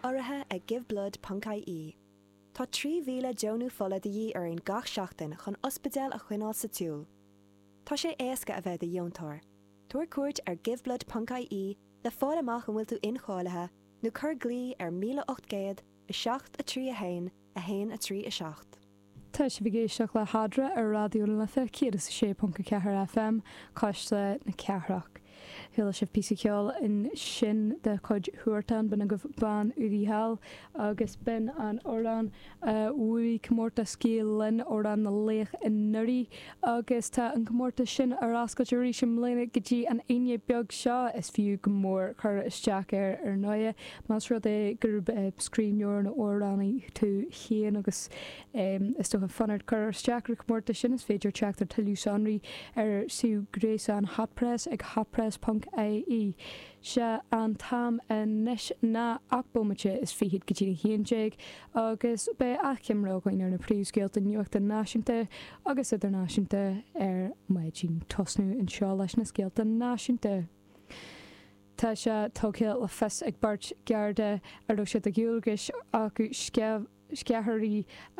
Urraithe ag Giveblood.ie. Tá 3,000 deonú fola de dhíth orainn gach seachtain chun ospidéil a choinneáil sa tsiúl. Tá sé éasca a bheith i do dheontóir. Tabhair cuairt ar Giveblood.ie le fáil amach an bhfuil tú incháilithe nó cuir glao ar 1800 7 3 1 1 3 7. Tá sibh ag éisteacht le hEadra ar Raidió na Life 106.4 FM, Cuisle na Cathrach. Chuala sibh píosa ceoil ansin de chuid Huartan, b'in agaibh Bean Údaí Thall agus b'in an amhrán a bhuaigh comórtas Gael Linn, Amhrán na Laoch anuraidh agus tá an comórtas sin ar oscailt arís i mbliana go dtí an Aoine beag seo. Is fiú go mór cur isteach air ar ndóighe, más rud é gurb scríbhneoir nó amhránaí tú féin agus is dócha fonn ort cur isteach ar an chomórtas sin, is féidir teacht ar tuilleadh sonraí ar suíomh gréasáin Hot Press ag hotpress.ie. Sé an t-am anois ná 8 bomaite is fichead go dtí a 11 agus beidh achoimre againn ar na príomhscéalta nuachta náisiúnta agus idirnáisiúnta ar maidin. Tosnú anseo leis na scéalta náisiúnta. Tá sé tugtha le fios ag beirt Gharda a raibh sé de dhualgais acu sceithirí a.